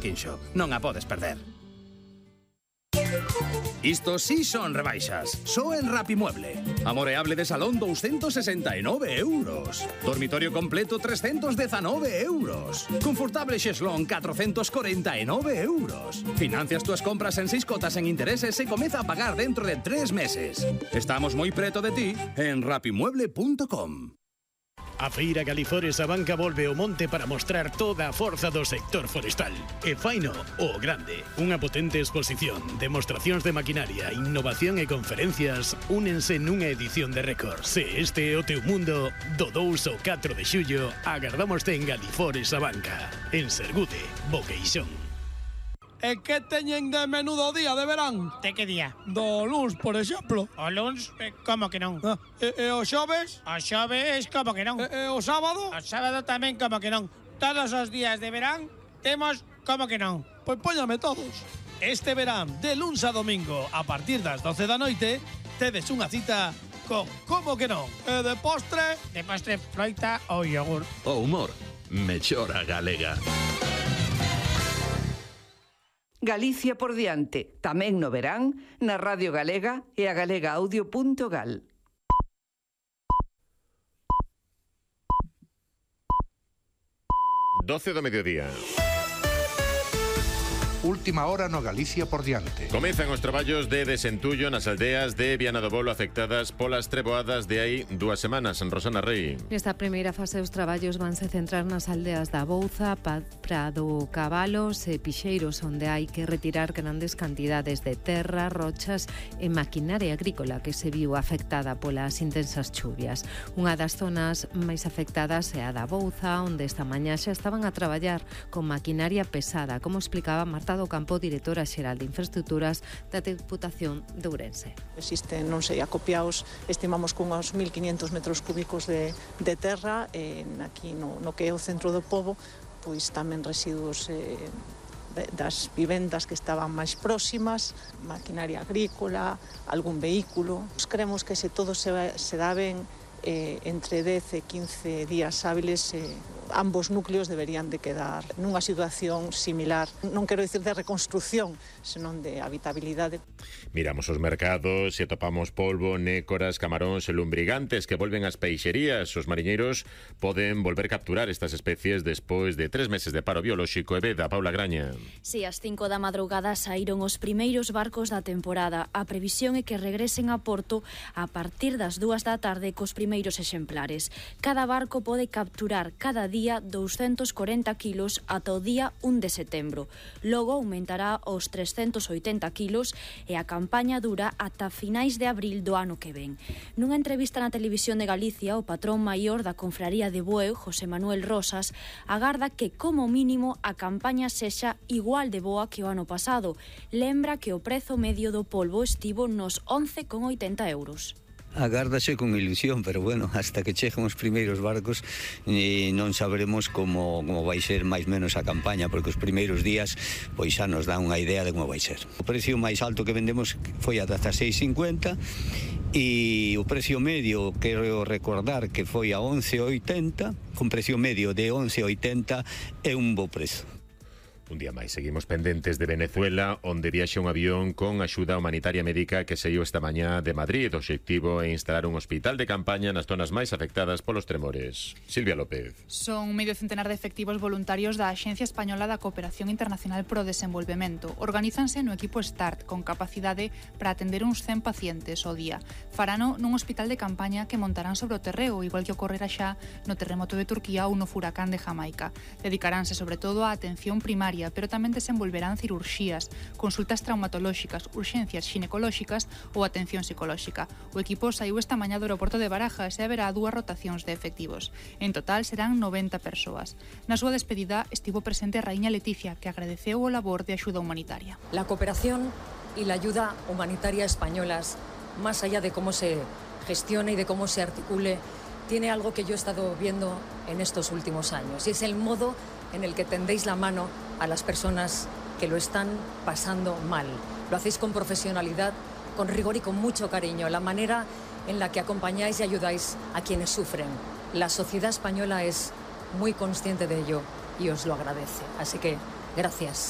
Quinxo. Non a podes perder. Isto sí son rebaixas. Só en Rapimueble. Amoreable de salón 269 euros. Dormitorio completo 319 euros. Confortable xeslón 449 euros. Financias túas compras en 6 cotas en intereses e comeza a pagar dentro de 3 meses. Estamos moi preto de ti en rapimueble.com. A Feira Galifores a Banca volve ao monte para mostrar toda a forza do sector forestal. E faino o grande. Unha potente exposición, demostracións de maquinaria, innovación e conferencias únense nunha edición de récord. Se este é o teu mundo, do 2 ao 4 de xullo, agardámoste en Galifores a Banca. En Sergude, Boqueixón. E que teñen de menudo día de verán? De que día? Do luns, por exemplo. O luns, como que non? E o xoves? O xoves, como que non? E o sábado? O sábado tamén, como que non. Todos os días de verán temos como que non. Pois póñame todos. Este verán, de luns a domingo, a partir das 12 da noite, tedes unha cita con como que non. E de postre? De postre, froita ou yogur. O humor, mellora galega. Galicia por diante, tamén no verán, na Radio Galega e a galegaaudio.gal. 12 do mediodía. Última hora no Galicia por diante. Comezan os traballos de desentullo nas aldeas de Viana do Bolo afectadas polas treboadas de hai 2 semanas. Rosana Rei. Nesta primeira fase os traballos vanse centrar nas aldeas da Bouza, Prado Cabalos e Pixeiros, onde hai que retirar grandes cantidades de terra, rochas e maquinaria agrícola que se viu afectada polas intensas chuvias. Unha das zonas máis afectadas é a da Bouza, onde esta mañá xa estaban a traballar con maquinaria pesada, como explicaba Marta do Campo, directora xeral de Infraestructuras da Deputación de Ourense. Existen, non sei, acopiados, estimamos con uns 1.500 metros cúbicos de terra, aquí no que é o centro do pobo, pois tamén residuos das vivendas que estaban máis próximas, maquinaria agrícola, algún vehículo. Creemos que se todo se dá ben, entre 10 e 15 días hábiles, ambos núcleos deberían de quedar nunha situación similar, non quero dicir de reconstrucción, senón de habitabilidade. Miramos os mercados e topamos polvo, nécoras, camaróns e lumbrigantes que volven ás peixerías. Os mariñeiros poden volver capturar estas especies despois de 3 meses de paro biolóxico. E veda, Paula Graña. Si, ás 5 da madrugada saíron os primeiros barcos da temporada. A previsión é que regresen a Porto a partir das 2 da tarde cos primeiros exemplares. Cada barco pode capturar cada día 240 kilos ata o día 1 de setembro. Logo aumentará aos 380 kilos e a campaña dura ata finais de abril do ano que ven. Nunha entrevista na Televisión de Galicia, o patrón maior da Confraría de Bueu, José Manuel Rosas, agarda que como mínimo a campaña sexa igual de boa que o ano pasado. Lembra que o prezo medio do polvo estivo nos 11,80 euros. Agárdase con ilusión, pero bueno, hasta que cheguen os primeiros barcos non saberemos como vai ser máis menos a campaña, porque os primeiros días pois xa nos dan unha idea de como vai ser. O precio máis alto que vendemos foi ata 6,50 e o precio medio, quero recordar que foi a 11,80, con precio medio de 11,80 é un bo prezo. Un día máis, seguimos pendentes de Venezuela, onde viaxa un avión con axuda humanitaria médica que saiu esta mañá de Madrid. O obxectivo é instalar un hospital de campaña nas zonas máis afectadas polos tremores. Silvia López. Son medio centenar de efectivos voluntarios da Axencia Española da Cooperación Internacional pro Desenvolvemento. Organízanse no equipo START, con capacidade para atender uns 100 pacientes ao día. Farano nun hospital de campaña que montarán sobre o terreo, igual que ocorrera xa no terremoto de Turquía ou no furacán de Jamaica. Dedicaránse sobre todo á atención primaria, pero tamén desenvolverán cirurxías, consultas traumatolóxicas, urxencias xinecolóxicas ou atención psicolóxica. O equipo saiu esta mañá do aeroporto de Barajas e haberá 2 rotacións de efectivos. En total serán 90 persoas. Na súa despedida estivo presente a raíña Leticia, que agradeceu o labor de axuda humanitaria. La cooperación y la ayuda humanitaria españolas, más allá de cómo se gestione y de cómo se articule, tiene algo que yo he estado viendo en estos últimos años, y es el modo en el que tendéis la mano a las personas que lo están pasando mal. Lo hacéis con profesionalidad, con rigor y con mucho cariño. La manera en la que acompañáis y ayudáis a quienes sufren. La sociedad española es muy consciente de ello y os lo agradece. Así que, gracias.